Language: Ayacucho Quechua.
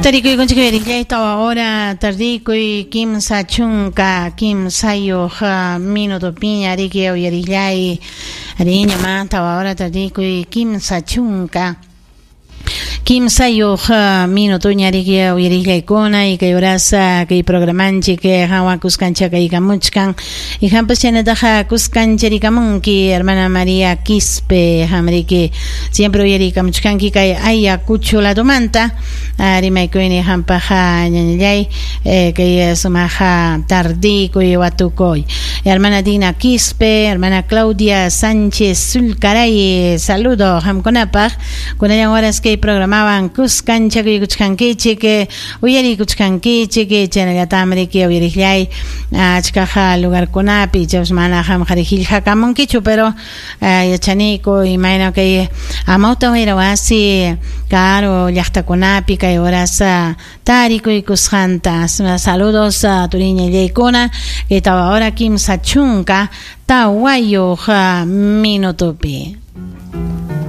Tarikuykunchik uyariqllay tawa hora tardikuy 33 minutopiña riki uyariqllay riña ma tawa hora tardikuy 33 minutoña riki uyariqllaykuna y kay horas kay programanchik hawa kuskanchakaykamuchkan y hampas chaynataqa kuskancharikamunki hermana María Quispe hamriki siempre uyarikamuchkanki kay Ayacucho ladomanta rimaykuyni hampaqa ñañallay kay sumaqa tardikuy watukuy hermana Dina Quispe, hermana Claudia Sánchez Sulcaray, saludo hamkunapaq kunallan horas kay programawan kuskanchakuykuchkankichik uyarikuchkankichik chaynallatam riki uyariqllay achkaqa lugarkunapi chapas mana qamqa qillqakamunkichu pero yachaniku imayna kay amawta wayra wasi karu llaqtakunapi kay horas tarikuykusqanta. Saludos turiñallaykuna kay tawa hora 34 minutopi.